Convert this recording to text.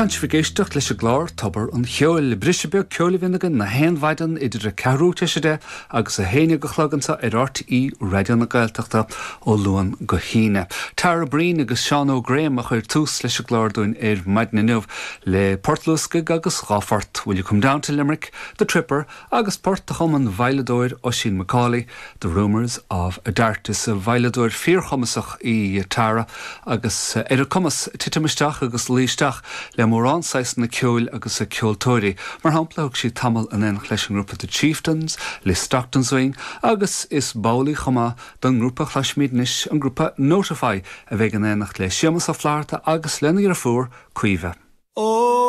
Tánn sibh ag éisteacht leis an gclár Tobar an Cheoil. Briseadh beag ceoil a bhíonn againn na haon mhaidin idir a ceathrú tar éis a deich agus a haon déag a chlog anseo ar RTÉ Raidió na Gaeltachta ó Luan go hAoine. Tara Breen agus Seán Óg Graham a chuir tús leis an gclár dúinn ar maidin inniu le port luascaigh agus dha phort, Will You Come Down to Limerick, The Tripper agus port a chum an veidhleadóir Oisín McCauley, The Rumours of a Dart. Is veidhleadóir fíorchumasach í Tara agus ar a cumas titim isteach agus luí isteach le mórán saghsanna ceoil agus ceoltóirí. Mar shampla, thug sí tamall in éineacht leis an ngrúpa The Chieftains, le Stockton Swing agus is ball í chomh maith don ngrúpa a chloisfimid anois, an grúpa Notify, a bheidh in éineacht le Séamus Ó Flatharta agus lena dheirfiúr, Caoimhe. Ó!